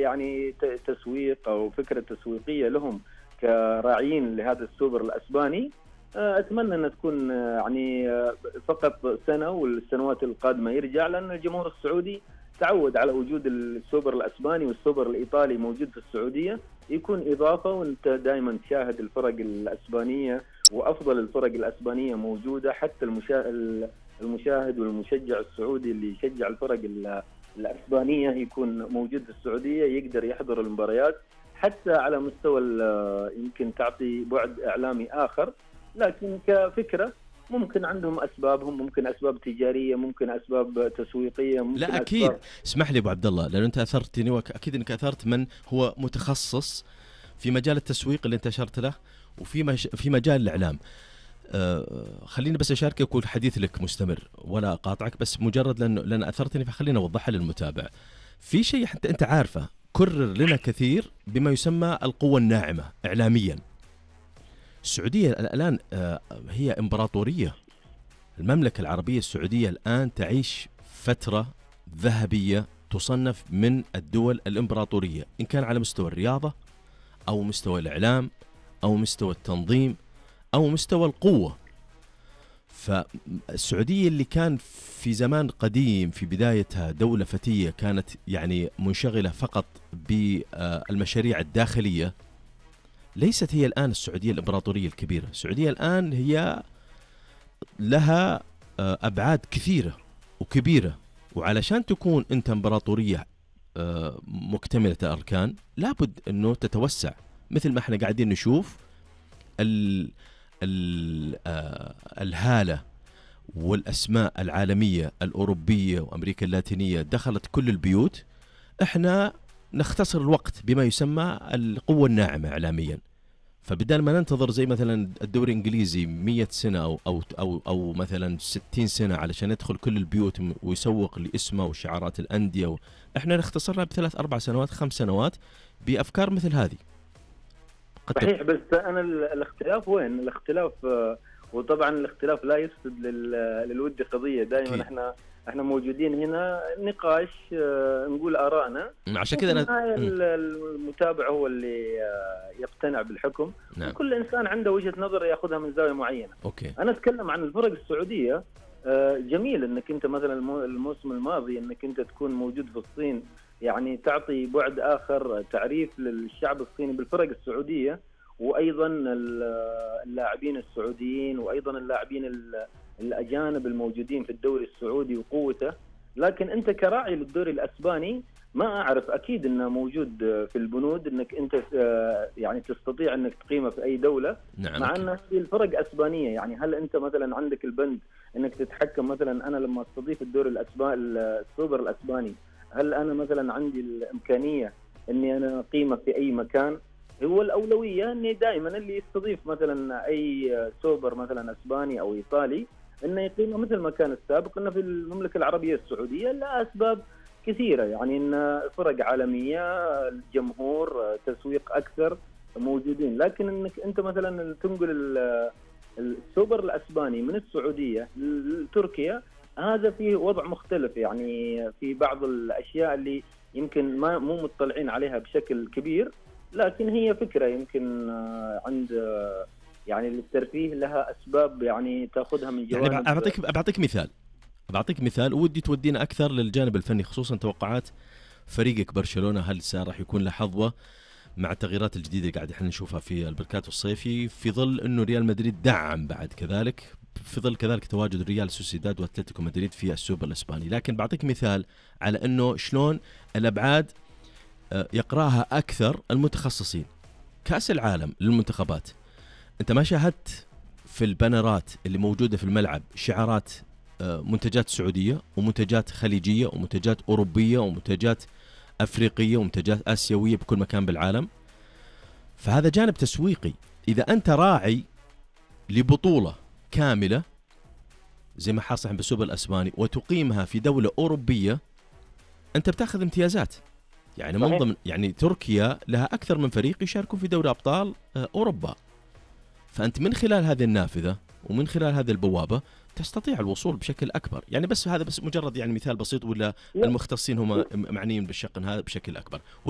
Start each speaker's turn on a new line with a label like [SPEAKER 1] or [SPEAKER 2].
[SPEAKER 1] يعني تسويق أو فكرة تسويقية لهم كراعيين لهذا السوبر الأسباني، أتمنى أن تكون يعني فقط سنة والسنوات القادمة يرجع، لأن الجمهور السعودي تعود على وجود السوبر الأسباني والسوبر الإيطالي موجود في السعودية، يكون إضافة، وأنت دائما تشاهد الفرق الأسبانية وأفضل الفرق الأسبانية موجودة. حتى المشاهد والمشجع السعودي اللي يشجع الفرق الأسبانية يكون موجود في السعودية، يقدر يحضر المباريات حتى على مستوى يمكن تعطي بعد إعلامي آخر. لكن كفكرة ممكن عندهم أسبابهم، ممكن أسباب تجارية، ممكن أسباب تسويقية، ممكن
[SPEAKER 2] لا أكيد. اسمح لي أبو عبد الله، لأنه أنت أثرتني وأكيد أنك أثرت من هو متخصص في مجال التسويق اللي أنت أشرت له وفي مجال الإعلام. خليني بس أشاركك والحديث لك مستمر ولا أقاطعك، بس مجرد لأن أثرتني فخلينا أوضحها للمتابع. في شيء حتى أنت عارفه كرر لنا كثير بما يسمى القوة الناعمة إعلاميا. السعودية الآن هي إمبراطورية. المملكة العربية السعودية الآن تعيش فترة ذهبية، تصنف من الدول الإمبراطورية، إن كان على مستوى الرياضة أو مستوى الإعلام أو مستوى التنظيم أو مستوى القوة. فالسعودية اللي كان في زمان قديم في بدايتها دولة فتية كانت يعني منشغلة فقط بالمشاريع الداخلية، ليست هي الآن السعودية الإمبراطورية الكبيرة. السعودية الآن هي لها أبعاد كثيرة وكبيرة، وعلشان تكون أنت إمبراطورية مكتملة الأركان لابد أنه تتوسع، مثل ما احنا قاعدين نشوف الهالة والأسماء العالمية الأوروبية وأمريكا اللاتينية دخلت كل البيوت. احنا نختصر الوقت بما يسمى القوة الناعمة إعلاميا. فبدال ما ننتظر زي مثلا الدوري الإنجليزي 100 سنة أو مثلا 60 سنة علشان يدخل كل البيوت ويسوق لاسمه وشعارات الأندية، احنا نختصرها ب3 4 سنوات 5 سنوات بأفكار مثل هذه.
[SPEAKER 1] صحيح، بس أنا الاختلاف وين؟ الاختلاف وطبعا الاختلاف لا يفسد للود قضية. دائما احنا موجودين هنا نقاش، نقول آرائنا،
[SPEAKER 2] عشان كذا
[SPEAKER 1] المتابع هو اللي يقتنع بالحكم.
[SPEAKER 2] نعم.
[SPEAKER 1] كل إنسان عنده وجهة نظر يأخذها من زاوية معينة.
[SPEAKER 2] أوكي.
[SPEAKER 1] أنا أتكلم عن الفرق السعودية. جميل أنك أنت مثلا الموسم الماضي أنك أنت تكون موجود في الصين، يعني تعطي بعد آخر، تعريف للشعب الصيني بالفرق السعودية، وأيضا اللاعبين السعوديين، وأيضا اللاعبين الأجانب الموجودين في الدوري السعودي وقوته. لكن أنت كراعي للدوري الأسباني ما أعرف، أكيد أنه موجود في البنود أنك أنت يعني تستطيع أنك تقيمه في أي دولة.
[SPEAKER 2] نعم.
[SPEAKER 1] مع أن الفرق أسبانية، يعني هل أنت مثلا عندك البند أنك تتحكم؟ مثلا أنا لما أستضيف الدوري السوبر الأسباني، هل أنا مثلا عندي الإمكانية أني أنا أقيمه في أي مكان؟ هو الأولوية أني دائما اللي يستضيف مثلا أي سوبر مثلا أسباني أو إيطالي أنه يقيمه مثل ما كان السابق، أنه في المملكة العربية السعودية لأسباب كثيرة، يعني أن فرق عالمية، الجمهور، تسويق أكثر موجودين. لكن أنك أنت مثلا تنقل السوبر الأسباني من السعودية لتركيا، هذا فيه وضع مختلف، يعني في بعض الأشياء اللي يمكن مو مطلعين عليها بشكل كبير، لكن هي فكرة يمكن عند يعني للترفيه لها أسباب يعني تأخذها من جوانب.
[SPEAKER 2] يعني بعطيك مثال ودي تودينا أكثر للجانب الفني، خصوصا توقعات فريقك برشلونة. هل راح يكون له حظوة مع التغييرات الجديدة اللي قاعد احنا نشوفها في البركات الصيفي، في ظل أنه ريال مدريد دعم بعد كذلك، في ظل كذلك تواجد ريال سوسيداد واتلتيكو مدريد في السوبر الإسباني. لكن بعطيك مثال على أنه شلون الأبعاد يقراها أكثر المتخصصين. كأس العالم للمنتخبات، أنت ما شاهدت في البانرات اللي موجودة في الملعب شعارات منتجات سعودية ومنتجات خليجية ومنتجات أوروبية ومنتجات أفريقية ومنتجات آسيوية بكل مكان بالعالم؟ فهذا جانب تسويقي. إذا أنت راعي لبطولة كاملة زي ما حاصل بالسوبر الأسباني وتقيمها في دولة أوروبية، أنت بتاخذ امتيازات. يعني من ضمن يعني تركيا لها أكثر من فريق يشاركون في دوري أبطال أوروبا. فأنت من خلال هذه النافذة ومن خلال هذه البوابة تستطيع الوصول بشكل أكبر. يعني بس هذا بس مجرد يعني مثال بسيط، ولا المختصين هم معنيين بالشق هذا بشكل أكبر.